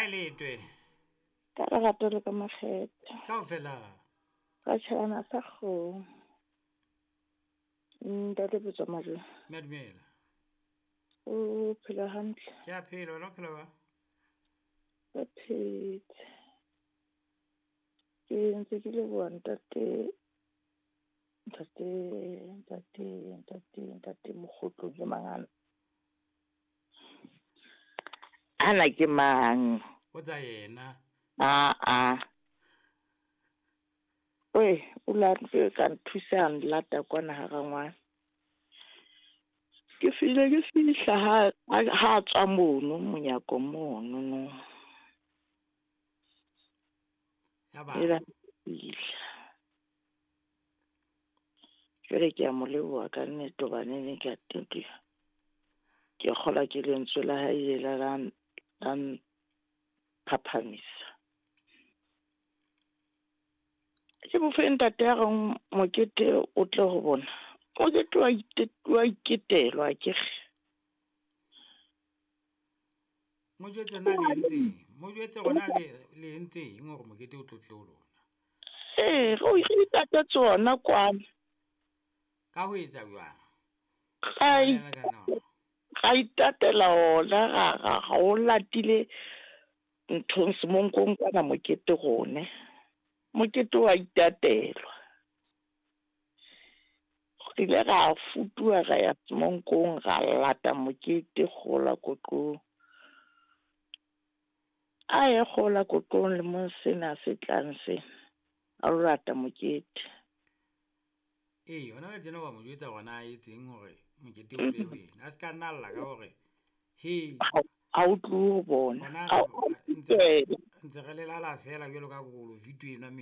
A e letwe. Ka lerato le ka makgethe. Kaofela. Ra tjhelana sa kgomo. Ntate Botswa Majwe. Mme dumela. O phela hantle. Ke a phela, wena o phela jwang? Re phetse. Ke ntse ke leboha ntate ntate ntate ntate ntate Mokgotlo ke mangana. Ana ke mang? O tsa yena. Aa. Oi, o la ka nthusa a nlata kwana ha rangwane. Ke file ke fihla ha tswa mono monyako mono no. Ya ba. Ela fihla. Jwale ke a mo leboha ka nnete hobane ne ke a teng ke kgolwa ke lentswe la hae la la phaphamisa. Ke bofe ntate ya reng mokete o tle ho bona. Mokete wa iketelwa akere. Mo jwetse na le entseng? Mo jwetse hore na le entseng hore mokete o tlo tle ho lona. Ee, re o itatetse ona kwana. Ka ho etsa jwang? Ra itatela ona ra o latile nthong semonkong kwana mokete rone. Mokete wa itatelwa. Re ile ra futuha ra ya semonkong ra lata mokete kgola koqong. A ye kgola koqong lemong sena se tlang sena. A lo lata mokete. Ee, hona jwale tjena wa mo jwetsa hore na a etseng hore mokete o tle ho yena. A se ka nna lla ka hore he Ha o tlohe ho bona. Hona ntse re lelala feela jwalo ka kolo vito enwa.